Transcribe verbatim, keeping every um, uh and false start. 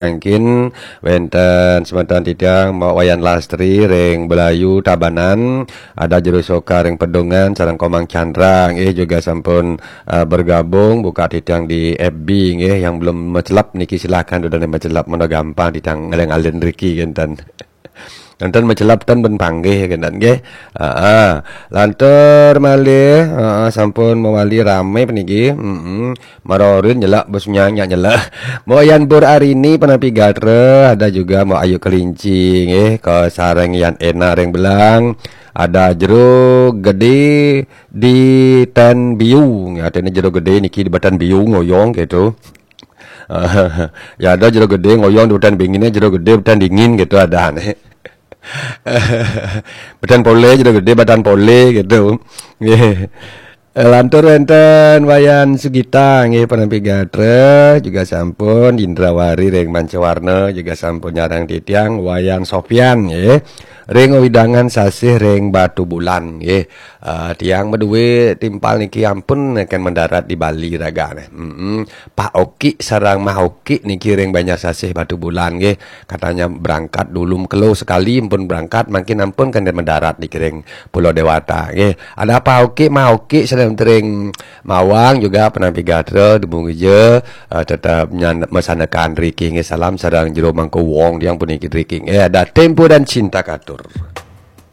Mangkin wénten semeton titiang Mbok Wayan Lastri ring Belayu Tabanan, ada Jero Soka ring Pedungan, sareng Komang Chandra nggih juga sampun eh, bergabung, buka titiang di F B nggih, yang belum mecelep niki silahkan udah mecelep, meno gampang titiang ngalih-ngalih riki kinten. Enten mecelep ten ben panggih kinten nggih. Heeh. Lantur malih, heeh, sampun mawali rame puniki. Heeh. Marorin nyelak bos nyanyak nyelak. Mbok Yan Pur Arini Penapi Gatra, ada juga Mbok Ayu Kelinci nggih, kasareng Yan Ena ring Belang. Ada Jero Gede di Ten Biu. Artinya Jero Gede niki di Batan Biu ngoyong gitu. Ya ada Jero Gede ngoyong di Batan Bingin, Jero Gede Batan Dingin gitu ada nih. Batan Pole, Jero Gede Batan Pole gitu. Nggih. Lantur wénten Wayan Sugita nggih, Penapi Gatra juga sampun, Indrawari ring Mancawarna juga sampun nyareng titiang, Wayan Sofyan nggih. Ring wewidangan sasih ring Batubulan nggih. Eh, tiang madué timpal niki ampun neken mendarat di Bali ragané. Mm-mm. Pak Oki sareng Mah Oki niki ring Banjar Sasih Batubulan nggih. Katanya berangkat dulu, mekelo sekali ampun berangkat, mangkin ampun kenten mendarat niki ring Pulau Dewata nggih. Ada Pak Oki, Mah Oki sareng ring Mawang juga Penapi Gatra, dumugi ja, eh, tetep nyan-, masanekan riki nggih. Salam sareng Jero Mangku Wong tiang puniki riki nggih. Ada Tempo dan Cinta Katur.